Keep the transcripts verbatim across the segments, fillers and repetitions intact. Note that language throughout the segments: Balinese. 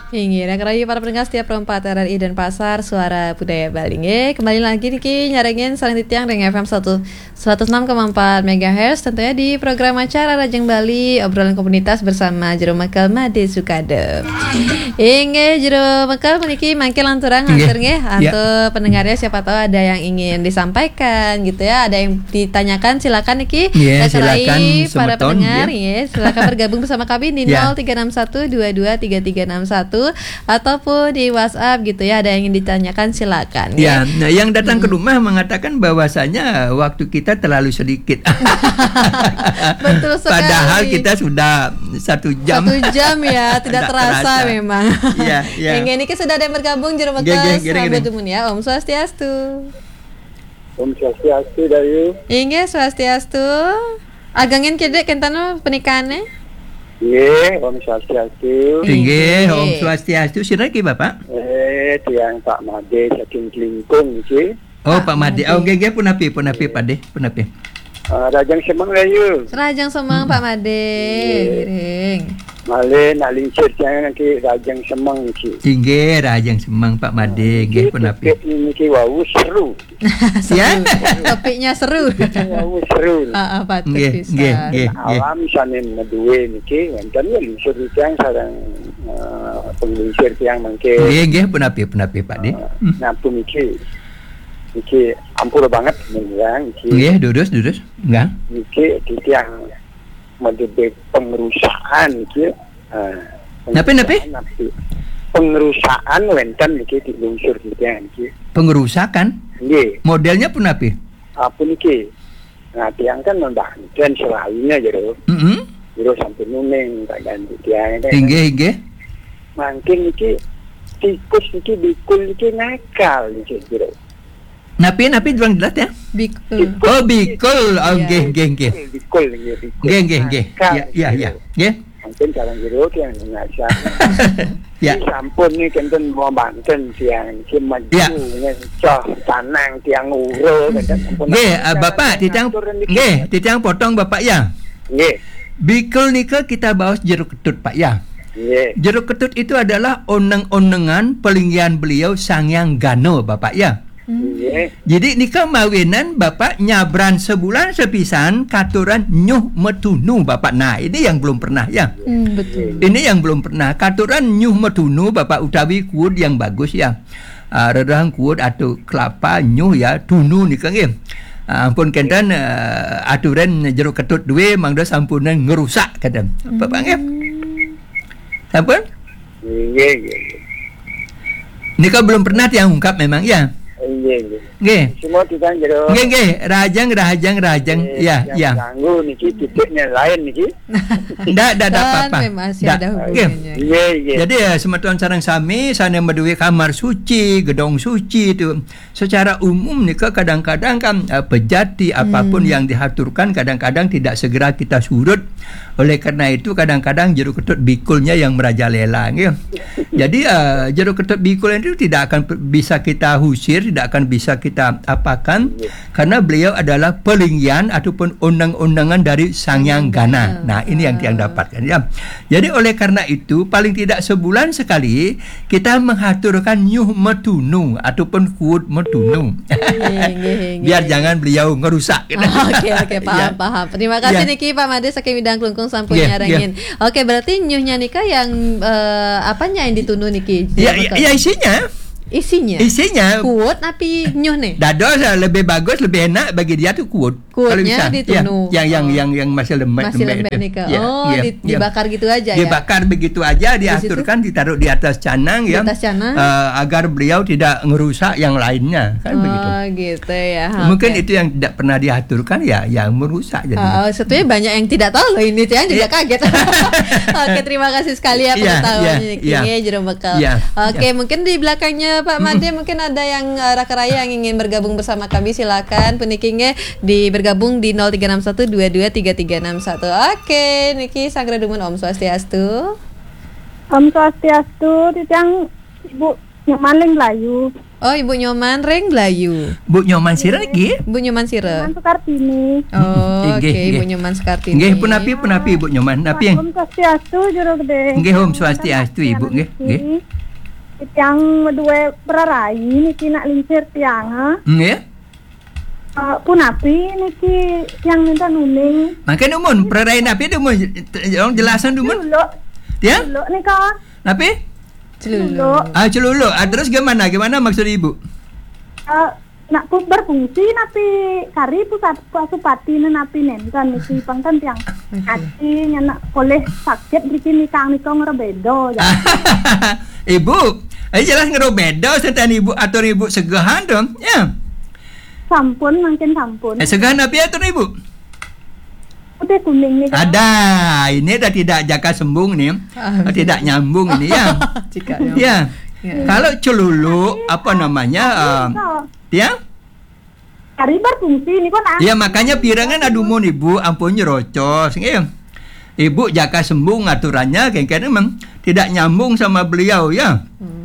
Inggih, dah kerayu para pendengar setia Pro empat R R I Denpasar, Suara Budaya Bali. Inggih, kembali lagi niki nyarengin sareng titiang ring F M satu, seratus enam koma empat megahertz, tentunya di program acara Rajeng Bali, obrolan komunitas bersama Jero Mekel Made Sukade. Inggih, Jero Mekel puniki mangke lanturang. Inggih. Atur nggih, ya, antuk pendengarnya, siapa tahu ada yang ingin disampaikan gitu ya, ada yang ditanyakan, silakan niki. Nggih, dah kerayu silakan para semeton, pendengar, ya. Nggih, silakan bergabung bersama kami di, ya, nol tiga enam satu dua dua tiga tiga enam satu. Ataupun di WhatsApp gitu ya, ada yang ingin ditanyakan, silakan, ya. Ya, nah, yang datang ke, mm-mm, rumah mengatakan bahwasanya waktu kita terlalu sedikit. Betul sekali. Padahal kita sudah satu jam. Satu jam ya, tidak terasa memang. Tidak terasa. Iya, iya. Inggih, niki sudah ada yang bergabung, Jero Mekel, nggih, nggih, nggih, selamat nggih. Dumun ya. Om Swastiastu. Om Swastiastu, Dayu. Inggih, Swastiastu. Agengin kidik kenten punikane. Nggih, Om Swastiastu. Inggih, inggih. Om Swastiastu. Sinten niki, Bapak? Eh, tiang Pak Made saking Klingkung niki. Oh, Pak Made. Pak Made. Oh, nggih, nggih, punapi, punapi, nggih. Pak De, punapi. Ah, Rajeng Semeng, Dayu. Rajeng Semeng, mm-mm, Pak Made. Nggih. Ngiring. Malih nak lingsir tiang niki Rajeng Semeng niki. Inggih, Rajeng Semeng, Pak Made. Ah, nggih, niki punapi. Topik niki wau seru. Seru. Ya? Topiknya seru. Topiknya wau seru. Ah, ah, patut nggih, pisan. Nggih, nggih, nggih. Alam sane maduwe niki wonten ya lingsir tiang sareng, eh, penglingsir tiang mangke. Nggih, nggih, punapi, punapi, Pak De. Eh, hmm. Napa niki? Niki ampura banget, niki. Nggih, durus, durus. Nggih. Niki titiang maduwe pengrusakan niki. Ah, napa, napa? Pengrusakan niki. Pengrusakan wenten niki di lungsur titiang niki. Pengrusakan? Nggih. Modelnya punapi? Apa niki? Nah, tiang kan membanten selainnya, Jero. Mm-mm. Jero sampun uning keadaan tiang kan. Inggih, inggih. Mangkin niki tikus niki, bikul niki nakal niki, Jero. Napi, napi, durang jelas ya? Bikul. Oh, bikul. Oh, iya, nggih, nggih, nggih. Bikul, nggih, bikul. Nggih, nggih, nggih. Nakal, ya, ya, ya. Jero. Nggih. Mungkin sareng Jero tiang ngajak. Ya. Ini sampun nih kenten membanten tiang, si maju, ya, ngecoh tanang tiang uro, kenten sampun. Nggih, ah, Bapak, titiang, ngatur niki. Nggih, titiang potong, Bapak, ya. Nggih. Bikul nika kita baos jero ketut, Pak, ya. Nggih. Jero ketut itu adalah oneng-onengan pelinggihan beliau Sang Hyang Gana, Bapak, ya. Hmm. Nggih. Jadi nika mawinan Bapak nyabran sebulan sepisan katuran nyuh metunu, Bapak. Nah, ini yang belum pernah, ya. Hmm, betul. Ini yang belum pernah. Katuran nyuh metunu, Bapak, utawi kuud yang bagus, ya. Ah, rereheng kuud atau kelapa nyuh, ya, tunu nika nggih. Ah, ampun kenten, eh, aturan jero ketut duwe mangda sampunan ngerusak kenten. Bapak nggih. Hmm. Sampun? Nggih, nggih, nggih. Nika belum pernah tiang ungkap memang, ya? Nggih, nggih. Nggih. Semua tiang jero. Nggih, nggih. Rahajeng, rahajeng, rahajeng. Nggih, ya, tiang ya. Ganggu niki titiknya lain niki. Ndak, ndak, ndak apa-apa. Kan memang masih ada hubungannya. Nggih. Nggih, nggih. Jadi, ya, semeton sareng sami, sane maduwe kamar suci, gedong suci itu. Secara umum nika kadang-kadang kan, eh, pejati apapun, hmm, yang dihaturkan kadang-kadang tidak segera kita surut. Oleh karena itu kadang-kadang jero ketut bikulnya yang merajalela, nggih. Jadi, eh, jero ketut bikul itu tidak akan pe-, bisa kita husir, tidak akan bisa kita apakan, nggih, karena beliau adalah pelinggihan ataupun oneng-onengan dari Sang Hyang Gana. Nah, ini yang tiang dapatkan, ya. Jadi oleh karena itu paling tidak sebulan sekali kita menghaturkan nyuh metunu ataupun kuud metunu. Nggih, nggih, nggih. Biar jangan beliau ngerusak. Oke, oke, paham, ya, paham. Terima kasih, ya, niki Pak Made saking Midang Klungkung sampun, nggih, nyarengin. Nggih. Oke, berarti nyuhnya nika yang, eh, apanya yang ditunu niki? Ya, ya, ya, isinya. Isinya? Isinya. Kuud tapi nyuh nih? Dados, eh, lebih bagus, lebih enak bagi dia tuh kuud. Kuudnya ditunu. Kalau bisa, ya, yang, yang, oh, yang, yang masih lembek, masih lembek, lembek itu. Nika. Ya, oh, ya, di-, ya, dibakar gitu aja, ya? Dibakar begitu aja, di situ? Diaturkan, ditaruh di atas canang, ya. Di atas canang. Eh, agar beliau tidak ngerusak yang lainnya, kan begitu. Oh, gitu ya. Mungkin, oke, itu yang tidak pernah diaturkan, ya, yang merusak jadinya. Oh, sebetulnya banyak yang tidak tahu loh ini, saya juga, iya, kaget. Oke, terima kasih sekali ya, iya, pengetahuannya, iya, niki, iya, nggih, jero bekel. Iya, oke, iya, mungkin di belakangnya Pak Made, mm-mm, mungkin ada yang, eh, raka raya yang ingin bergabung bersama kami, silakan. Puniki nggih, di bergabung di nol tiga enam satu dua dua tiga tiga enam satu. Oke, niki sanggra dumun, Om Swastiastu. Om Swastiastu, titiang Ibu Nyoman ring Melayu. Oh, Ibu Nyoman ring Blayu. Bu Nyoman sira niki? Bu Nyoman sira. Nyoman Sukartini. Oh, inggih, oke, inggih. Bu Nyoman Sukartini. Inggih, punapi, punapi, Bu Nyoman? Napi? Om Swastiastu, Juru Gedé. Inggih, Om Swastiastu, Ibu, nggih, nggih. Tiang duwe prarai niki nak lingsir tiang, eh. Nggih. Eh, punapi niki tiang minta nuning. Mangke dumun, prarai napi dumun? Tolong jelasan dumun. Celuluk. Ya? Celuluk nika. Napi? Celuluk. Celuluk. Ah, celuluk. Ah, terus gimana? Gimana maksud Ibu? Eh, nak pu-, berfungsi napi kari pusat pasupati napi nenten niki pangten tiang. Oke. Ati nyenak polih sakit niki nikang nika ngerebeda, ya. Ibu, eh, jelas ngerebeda senten Ibu atur Ibu segehan to, ya. Sampun, mangkin sampun. Eh, segehan napi atur Ibu? Putih kuning nih, Kak. Ada, ini dah tidak jaka sembung nih. Ah, tidak nyambung ini, ya. Cika nyambung. Ya. Ya. Kalau celuluk, apa namanya, eh, ya? Kari berfungsi nih, kok, nah. Ya, makanya pirengan adumun Ibu, ampun nyerocos, nggih. Ibu jaka sembung aturannya, kengken memang tidak nyambung sama beliau, ya. Hmm.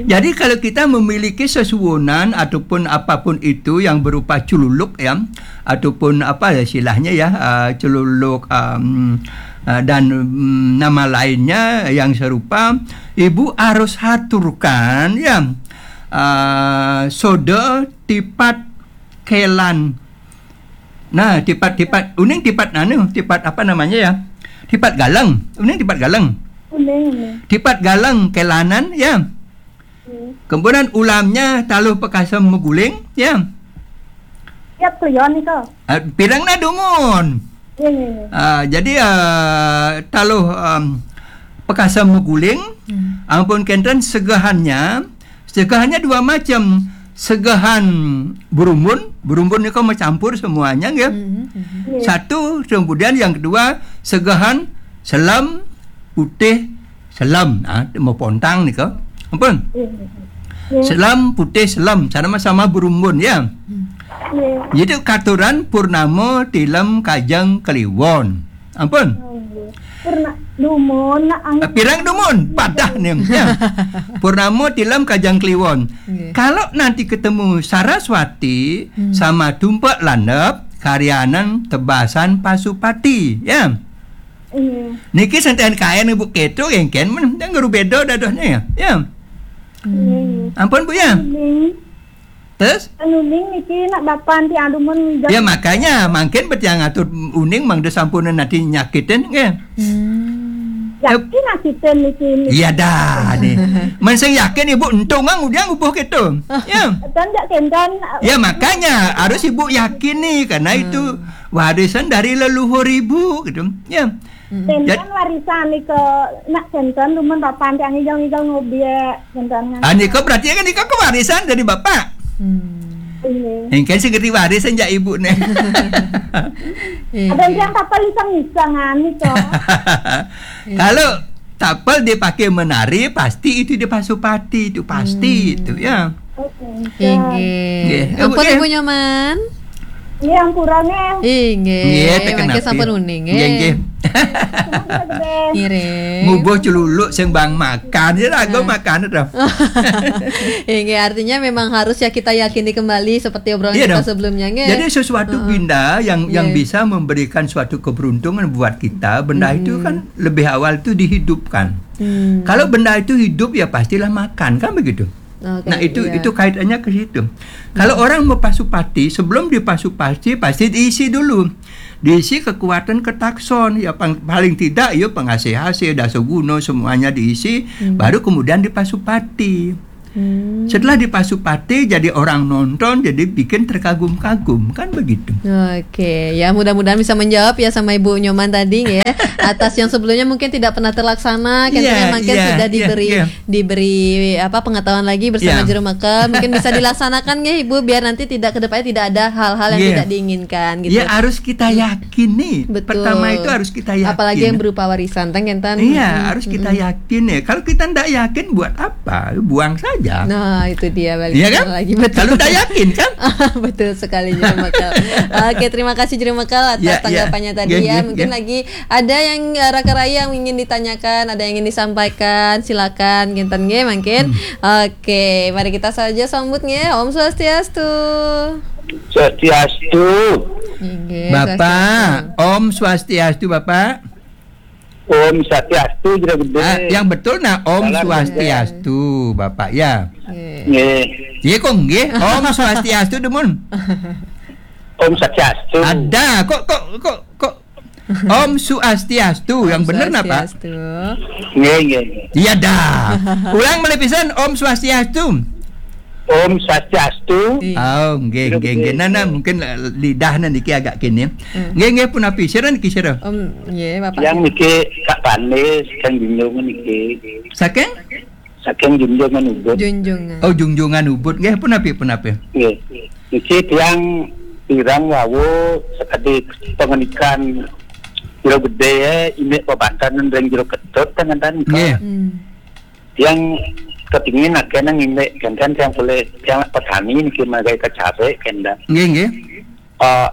Jadi, kalau kita memiliki sesuunan ataupun apapun itu yang berupa cululuk, ya, ataupun apa ya istilahnya, ya, eh, cululuk, em, eh, dan, mm, nama lainnya yang serupa, Ibu harus haturkan, ya, eh, soda tipat kelan. Nah, tipat, tipat, uning tipat anu, tipat apa namanya, ya? Tipat galeng. Uning tipat galeng. Uning, uning. Tipat galeng kelanan, ya. Hmm. Kemudian ulamnya taluh pekasem meguling, ya. Siap, Cleon, itu. Ah, pirang na dumun. Iya, iya, iya. Ah, jadi, ah, taluh, em, pekasem meguling, hmm, ampun kenten segehannya, segehannya dua macam. Segehan berumbun, berumbun nika mencampur semuanya, nggih. Mhm, mhm. Iya. Satu, kemudian yang kedua, segehan selem, putih, selem. Ah, mau pontang nika. Ampun. Iya, iya, iya. Selem, putih, selem, sama-sama berumbun, ya. Hmm. Iya. Jadi katuran purnama tilem kajeng kliwon. Ampun. Oh, iya. Purna-, dumun, nak ang- Eh, pirang dumun? Padah nih, ya. Purnama tilem kajeng kliwon. Nggih. Kalau nanti ketemu Saraswati, hmm, sama tumpek landep, karyanan tebasan pasupati, ya. Iya. Niki senten kaen Ibu keto, kengken men, yang guru beda dadohnya, ya. Ya. Hmm. Ampun, Bu, ya. Iya. Terus? Nuning niki nak bapan ti adumun ngidam. Ya, makanya mangkin bet yang atur uning mangda sampun nanti nyakitin, nggih. Hmm. Yakin nyakitin niki, niki. Iya dah, nih. Men sing yakin Ibu entung ang udah ngubuh gitu. Ya. Dan jak kendan. Ya, makanya harus Ibu yakin nih, karena itu, hmm, warisan dari leluhur Ibu gitu. Ya. Mm-mm. Ten kan warisan nika, nak ten kan dumun bapan tiang ngigel-ngigel ngobiek, ten kan. Ah, nika berarti kan nika kewarisan dari bapak. Hmm. Iya. Engken sing ngerti warisan jak ibu nih. Iya. Ada yang tiang tapel iseng-isengan nika. Iya. Kalau tapel dipakai menari, pasti itu dipasupati, itu pasti. Hmm. Itu, ya. Oke. Inggih. Nggih. Ampun, nggih. Ibu Nyoman. Nggih, ampura, nggih. Inggih. Nggih, mangke sampun uning, nggih. Nggih, nggih. Semoga gede. Ngiring. Ngubuh celuluk sing bang makan, ya lagu makan to. Inggih, artinya memang harus ya kita yakini kembali seperti obrolan kita sebelumnya, nggih. Iya dong. Jadi sesuatu, heeh, benda yang, yang, iya, bisa memberikan suatu keberuntungan buat kita, benda itu, mm-mm, kan lebih awal itu dihidupkan. Hmm. Kalau benda itu hidup, ya pastilah makan, kan begitu? Oke, nah, itu, iya, itu kaitannya ke situ. Kalau, hmm, orang mau pasupati, sebelum dipasupati, pasti diisi dulu. Diisi kekuatan ketakson, ya pang-, paling tidak ya pengasih-asih, dasaguna, semuanya diisi, hmm, baru kemudian dipasupati. Hmm. Setelah dipasupati, jadi orang nonton, jadi bikin terkagum-kagum, kan begitu. Oke, ya mudah-mudahan bisa menjawab ya sama Ibu Nyoman tadi ya. Atas yang sebelumnya mungkin tidak pernah terlaksana, kan, iya, ya, mungkin, iya, sudah, iya, diberi, iya, diberi apa, pengetahuan lagi bersama, iya, juru makan. Mungkin bisa dilaksanakan ya Ibu, biar nanti tidak, ke depannya tidak ada hal-hal yang, iya, tidak diinginkan gitu. Ya, harus kita, hmm, yakin nih. Betul. Pertama itu harus kita yakin. Apalagi yang berupa warisan, tang, kan, iya, mm-mm, harus kita, mm-mm, yakin ya. Kalau kita ndak yakin, buat apa? Buang saja. Ya. Nah, itu dia, balik Iya, kan? lagi. Betul. Kalau tak yakin, kan? Betul sekali, Juru Mekal. Oke, terima kasih, Juru Mekal, atas Ya, ya. tanggapannya tadi, Nggih, ya. nggih, Mungkin nggih. lagi ada yang, eh, raka raya yang ingin ditanyakan, ada yang ingin disampaikan, silakan, kinten nggih, mungkin. Hmm. Oke, mari kita saja sambut nggih. Om Swastiastu. Swastiastu. Nggih, Bapak, Swastiastu. Om Swastiastu, Bapak. Om Swastiastu, Jero Gede. Ah, yang betul nah, Om Salam Swastiastu, Bapak, ya. Nggih. Nggih. Iya, kok nggih? Om Swastiastu, Demun. Om Swastiastu. Ada, kok, kok, kok, kok Om Swastiastu, yang Om bener napa? Swastiastu. Nggih, nggih, nggih. Iya dah. Ulang malih pisan, Om Swastiastu. Om Swastiastu. Iya. Oh, nggih, Jero nggih, nggih. Gede. Nah, nah, mungkin, eh, lidahnya niki agak kene. Hmm. Nggih, nggih, punapi? Sira niki, sira? Om, nggih, Bapak. Yang niki Kak Panis, Kang Junjung niki. Saking? Saking Junjungan Ubud. Junjungan. Oh, Junjungan Ubud. Nggih, punapi, punapi? Nggih. Niki tiang pirang wau sekadi pengendikan Jero Gede, eh, indik pabanten ring Jero Ketut, kan, kan, Nggih. Hmm. Tiang kepingin akeh nang indik, kan, kan, tiang boleh, tiang petani niki magai kecare, kan, kan. Nggih, nggih. Eh,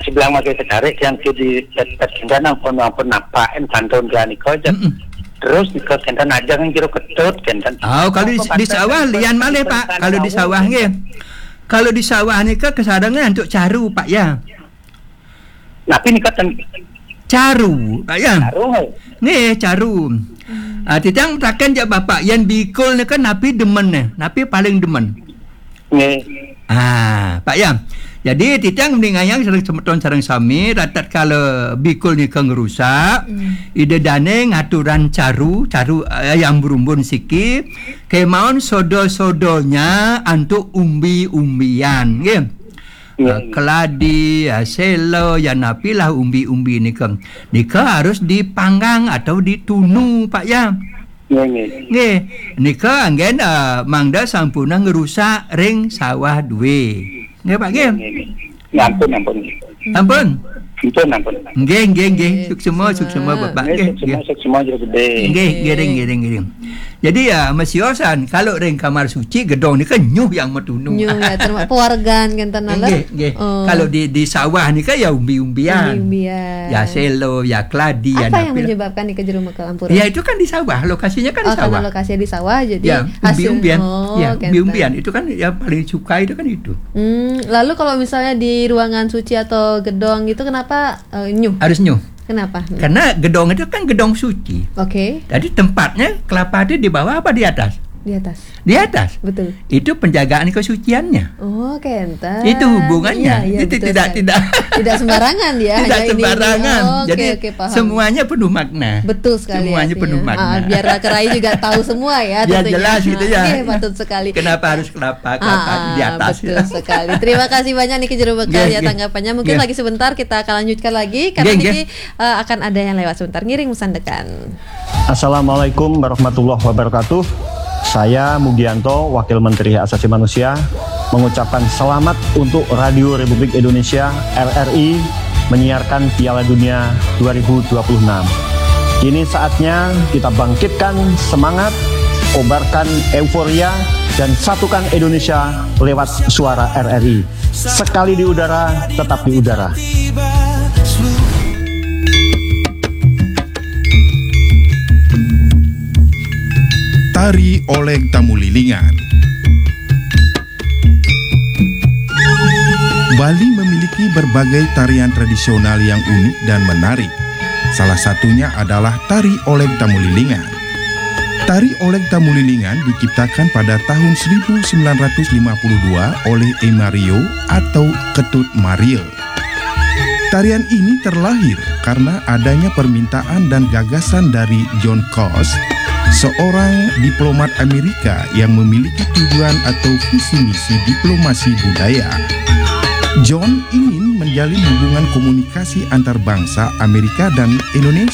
sebelah magai kecare, tiang ke di, di, di, nang pun, nang pun napain kantun dia nika, Mm-mm. terus nika, kan, kan, aja kan Jero Ketut, kan, kan. Oh, kalau di, Apa di kata sawah, kan, lian malih, Pak. Kalau di sawah, nggih. Kalau di sawah nika kesarengan untuk caru, Pak, ya. Napi nika ten- Caru, Pak, ya. Caru, eh. Nggih, caru. Ah, titiang taken jak Bapak, yen bikul nika napi demen, eh? Napi paling demen? Nggih. Ah, Pak, ya. Jadi, titiang ningayang sareng semeton sareng sami, ratat kala bikul nika ngrusak, Hmm. ida dane ngaturan caru, caru, eh, yang berumbun siki, kemaon sodo-sodonya antuk umbi-umbian, nggih. Nggih. Ah, keladi, ah, selo, ya napilah umbi-umbi nika. Nika harus dipanggang atau ditunu, Pak, ya. Nggih, nggih. Nggih, nika anggen, ah, mangda sampun ngrusak ring sawah duwe. Nggih, Pak, nggih. Nggih, nggih. Ya, ampun, ampun. Ampun. Ampun, ampun. Nggih, nggih, nggih. Nggih, Suksema, suksema. suksema, Bapak, Nggih, nggih, suksema, nggih. suksema, Jero Gede. Nggih, ngiring, ngiring, ngiring. Jadi, ya, masiosan, kalau ring kamar suci, gedong nika nyuh yang matunu. Nyuh, ya, terma-, pewargan, kan, tenan, Nggih, nggih. Oh. Kalau di, di sawah nika, ya, umbi-umbian. Umbi-umbian. Ya, selo, ya, keladi, ya, Apa yang napi. menyebabkan nika, Jero Mekal, ampura? Ya, itu kan di sawah, lokasinya kan di Oh, karena sawah. lokasinya di sawah, jadi Ya, hasil, umbi-umbian. Oh, Ya, kan, umbi-umbian. Itu kan yang paling suka itu kan itu. Hmm, lalu kalau misalnya di ruangan suci atau gedong gitu, kenapa, eh, nyuh? Harus nyuh. Kenapa? Hmm. Karena gedong itu kan gedong suci. Oke. Jadi tempatnya kelapa itu di bawah apa di atas? Di atas. Di atas. Betul. Itu penjagaan kesuciannya. Oh, kenten. Itu hubungannya. Iya, iya, Itu betul tidak, sekali. tidak Tidak sembarangan ya, Tidak hanya ini, ini. sembarangan. Oh, oke, Jadi oke, paham. semuanya penuh makna. Betul sekali Semuanya artinya. penuh makna. Ah, biar raka raya juga tahu semua ya Ya, tentunya. jelas gitu ya. Oke, patut sekali. Kenapa harus kelapa, kelapa Ah, di atas betul ya? sekali. Terima kasih banyak niki Jero Mekal Nggih, ya nggih. tanggapannya. Mungkin Nggih. lagi sebentar kita akan lanjutkan lagi karena Nggih, nggih. niki, eh, akan ada yang lewat sebentar. Ngiring sandekan. Assalamualaikum warahmatullahi wabarakatuh. Saya Mugianto, Wakil Menteri Hak Asasi Manusia, mengucapkan selamat untuk Radio Republik Indonesia, R R I, menyiarkan Piala Dunia dua ribu dua puluh enam. Kini saatnya kita bangkitkan semangat, kobarkan euforia, dan satukan Indonesia lewat suara R R I. Sekali di udara, tetap di udara. Tari Oleg Tamulilingan. Bali memiliki berbagai tarian tradisional yang unik dan menarik. Salah satunya adalah tari Oleg Tamulilingan. Tari Oleg Tamulilingan diciptakan pada tahun seribu sembilan ratus lima puluh dua oleh Emario atau Ketut Maril. Tarian ini terlahir karena adanya permintaan dan gagasan dari John Coss, seorang diplomat Amerika yang memiliki tujuan atau visi misi diplomasi budaya. John ingin menjalin hubungan komunikasi antar bangsa Amerika dan Indonesia.